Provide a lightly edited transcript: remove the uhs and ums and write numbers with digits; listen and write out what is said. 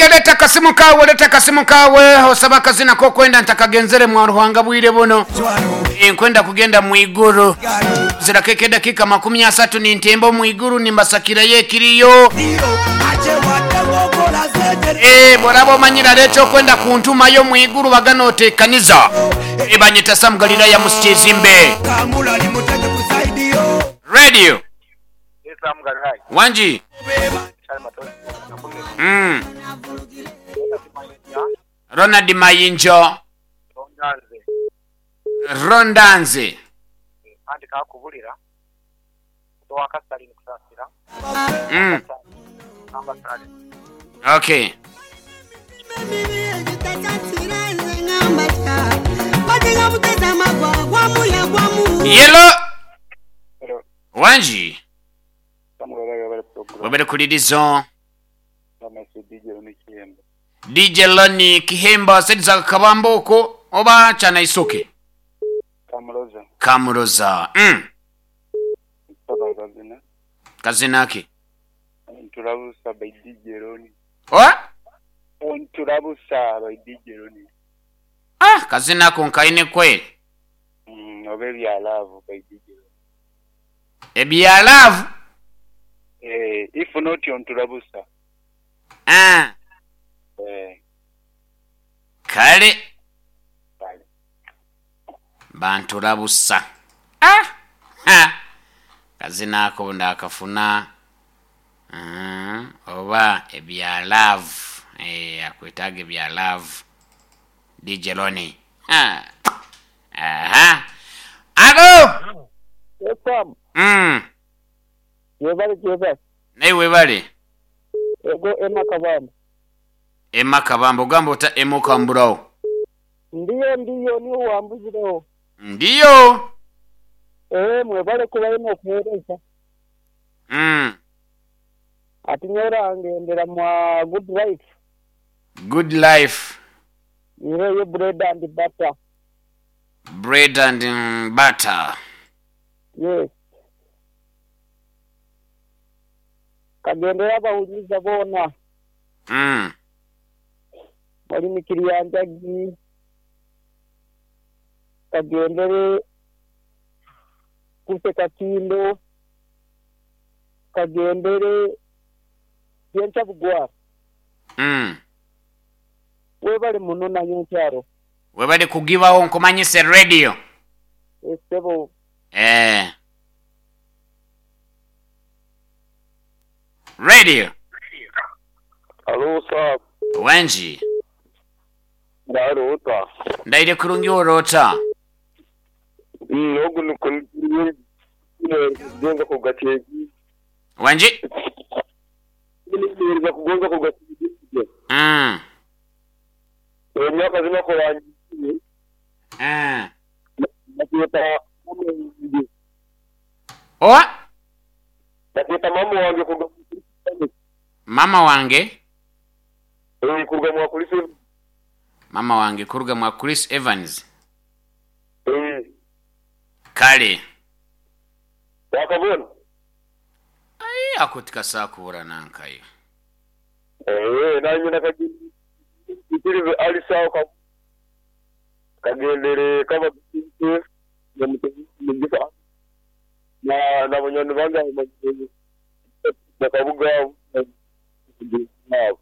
Ok leta akasimu kaawe leta akasimu kaawe osabe akazina k'okwenda ntakagenzere mwa Ruhanga bwire buno. Nkwenda kugenda mu iguru. Zirako ekedakiika 30 nintemba omu iguru nimbasakirayo ekiriyo. Eh, bworaba omanyire hariho ekyokwenda kuntumayo omu iguru bagana otekaniza. Eh, banyeta Sam Galilaya Musikyezimbe. Radio. Wangi. Mm. Ronald Mayinjo. Ronda nze. Mm. Ok. Yelo. Wangi. Webale kulirizo. DJ Loni Kihemba sediza Kabamba okwo oba Kyanaisoke? Kamuroza. Kamuroza. Kazina. Kazina ki? Ntulabusa by DJ Loni. Oa? Ntulabusa by DJ Loni. Ah, kazina ako nkaine kweli. Oba ebya love by DJ Loni. Ebya love? Eh, if not ontulabusa. Ah. Eh. Kale. Kale. Bantulabusa. Ah! Ha! Kazina ako ndakafuna. Oba ebya love. Eh, akwetaaga ebya love. DJ Loni. Ha! Aha! Alo! Yes, Sam. Yebale gyebale. Naye webale. Ego Emma Kabamba. Emma Kabamba ogamba ota Emma okamburawo. Ndiyo ndiyo niiwe owambuzireho. Ndiyo. Eeh mwebale kubayo nokuhereza. Ati nyowe orangendera mwa good life. Good life. Nyireyo bread and butter. Bread and butter. Yes. Kagendere abahuriize boona. Muri mikiri ya Njagi, kagendere Kuse Kakindo, kagendere Byenkya Bugwara. Webale muno na nyenkyaro. Webale kugibagho nkumanyise radio. Ssebo. Eeh. Radio. Halo sir. Wangi. Ndaire ota? Ndaire kurungi ori ota? Ogu nikwo kugonza kugakyegi. Wangi. Kugonza kugakyegi. Emyaka zino kurangiire. Bakeeta mama wange. Oa? Bakeeta mama wange kuruga mwa Chris Evans. Mama wange? Eeh, kuruga mwa Chris Evans. Mama wange kuruga mwa Chris Evans? Eeh. Kale. Wakabona? Aii ako tikasobola kubura nankayo. Eeh, nanye nakagira Alice aho kagendere kaba na banywani bange aho bakabuga abo.